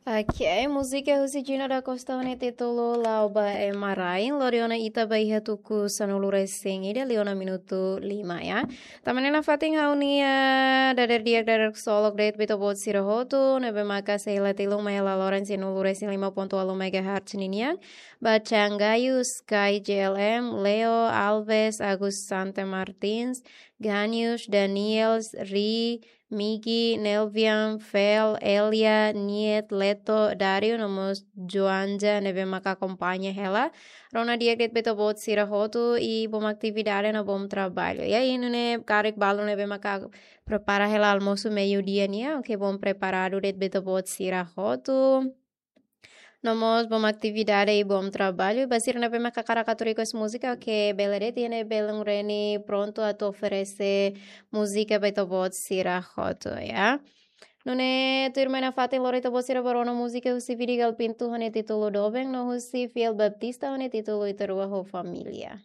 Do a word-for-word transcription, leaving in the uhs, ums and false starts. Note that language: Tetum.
Ok, múzika husi Gina da Costa ho nia títulu La'o ba Ema Rai. Lori ona ita ba iha tuku sanulu-resin-ida liu ona minutu lima, ya. Tanba ne'e nafatin ha'u-nia dadeer di'ak, dadeer ksolok de'it ba ita-boot sira hotu ne'ebé maka sei la tilun mai hela loron sanulu-resin-lima pontu ualu megahertz ninian, ba Changayu, Sky J L M, Leo, Alves, Agus Sante Martins, Ganius, Daniels, Ri, Migi, Nelvian, Fel, Elia, Niet, Leto, Dario, no mós Joanja ne'ebé maka akompaña hela. Rona di'ak de'it ba ita-boot sira hotu i bom atividade no bom traballu. Ya, i nune'e karik balu ne'ebé maka prepara hela almosu meiudia nian, oke, bom preparadu de'it ba ita-boot sira hotu. No mós bom atividade i bom traballu. Ba sira ne'ebé maka hakarak atu request múzika, oke, bele de'it, iha ne'e belun Reni prontu atu oferese múzika ba ita-boot sira hotu, ya. Nune'e tuirmai nafatin lori ita-boot sira ba rona múzika husi Vidigal Pinto ho nia títulu Doben, no husi Fiel Baptista ho nia títulu Ita Rua ho Família.